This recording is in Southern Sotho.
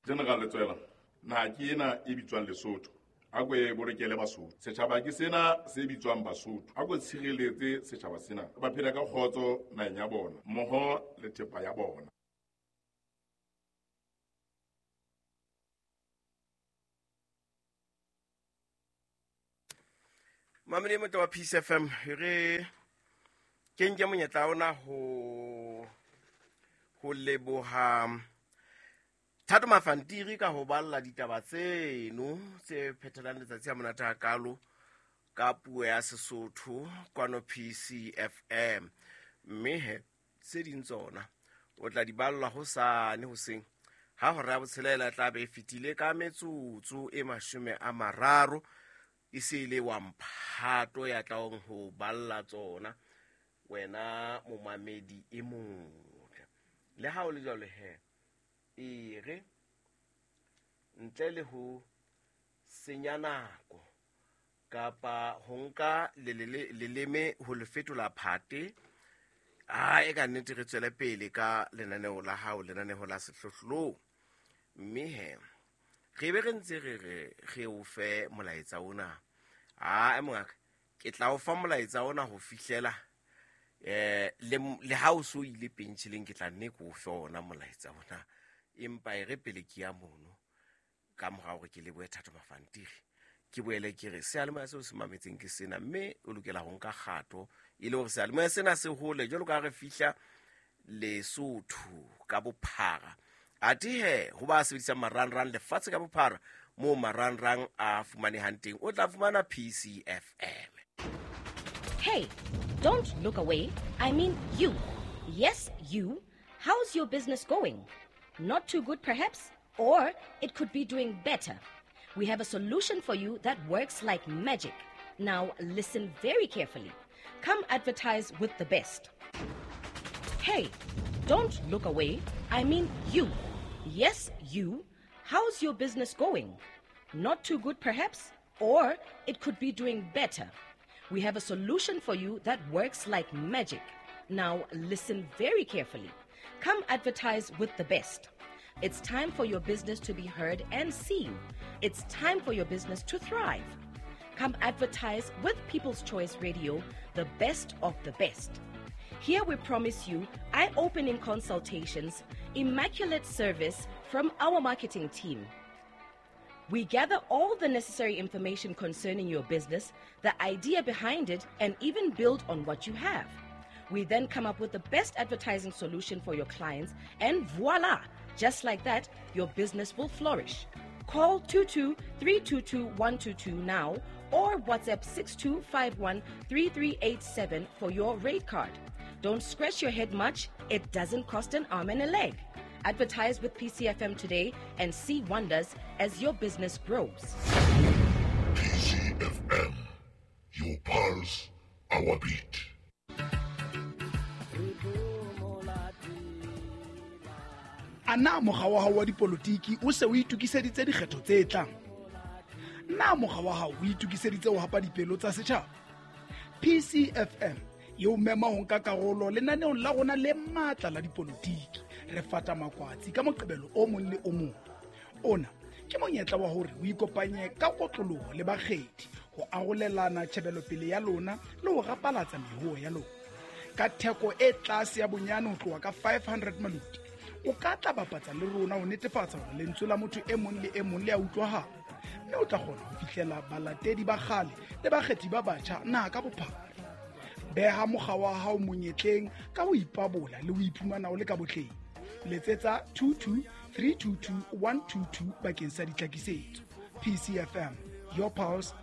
General Letsoela, naha ke ena e bitswang Lesotho. A ko e bolokele Basotho. Setjhaba ke sena se bitswang Basotho. A ko tshireletse setjhaba sena. Ba phele ka kgotso naheng ya bona, mmoho le thepa ya bona. Mamedi motle wa Peace FM, re ke nke monyetla ona ho leboha Thato Mafantiri ka ho balla ditaba tseno tse phethelang letsatsi ha monate hakalo ka puo ya Sesotho kwano PCFM. Mme he tse ding tsona o tla di ballwa hosane hoseng ha hora ya botshelela tla be e fetile ka metsotso e 30, e se e le wa mphato ya tlaong ho balla tsona wena momamedi e motle. Le ha o le jwalo he, e re ntle le ho senya nako kapa ho nka leleme ho le fetola phate, a e ka nnete re tswele pele ka lenaneo la hao, lenaneo la sehlohlolong. Mme he re be re ntse re re re o fe molaetsa ona. A mongaka, ke tla o fa molaetsa ona ho fihlela le ha o so ile pentšheleng, ke tla nne ke o fe ona molaetsa ona. Empa e re pele ke ya mono, ka mora hore ke lebohe Thato Mafantiri, ke boele ke re seyalemoya seo se mametseng ke sena, mme o lokela ho nka kgato e le hore seyalemoya sena se hole jwalo ka ha re fihla Lesotho ka bophara. Athe he, ho ba sebedisang marangrang lefatshe ka bophara, moo marangrang a fumanehang teng, o tla fumana PCFM. Hey, don't look away. I mean you. Yes, you. How's your business going? Not too good, perhaps? Or it could be doing better. We have a solution for you that works like magic. Now, listen very carefully. Come advertise with the best. Hey, don't look away. I mean you. Yes, you. How's your business going? Not too good, perhaps? Or it could be doing better. We have a solution for you that works like magic. Now, listen very carefully. Come advertise with the best. It's time for your business to be heard and seen. It's time for your business to thrive. Come advertise with People's Choice Radio, the best of the best. Here we promise you eye-opening consultations, immaculate service from our marketing team. We gather all the necessary information concerning your business, the idea behind it, and even build on what you have. We then come up with the best advertising solution for your clients, and voila! Just like that, your business will flourish. Call 22-322-122 now or WhatsApp 6251-3387 for your rate card. Don't scratch your head much. It doesn't cost an arm and a leg. Advertise with PCFM today and see wonders as your business grows. PCFM, your pulse, our beat. A na mokga wa hao wa dipolotiki o se o itokiseditse dikgetho tse tlang? Na mokga wa hao o itokiseditse ho hapa dipelo tsa setjhaba? PCFM e o mema ho nka karolo lenaneong la rona le matla la dipolotiki. Re fata makwatsi ka Moqebelo o mong le o mong. Ona ke monyetla wa hore o ikopanye ka kotloloho le bakgethi ho arolelana tjhebelopele ya lona le ho rapalatsa mehuo ya lona. Ka theko e tlase ya bonyane ho tloha ka 500 maluti, o ka tla bapatsa le rona ho netefatsa hore lentswe la motho e mong le e mong le a utlwahala, mme o tla kgona ho fihlela balatedi ba kgale le bakgethi ba batjha naha ka bophara. Beha mokga wa hao monyetleng ka ho ipabola le ho iphumana o le ka botleng. Letsetsa 22 322 122 bakeng sa ditlhakisetso. PCFM, your pulse,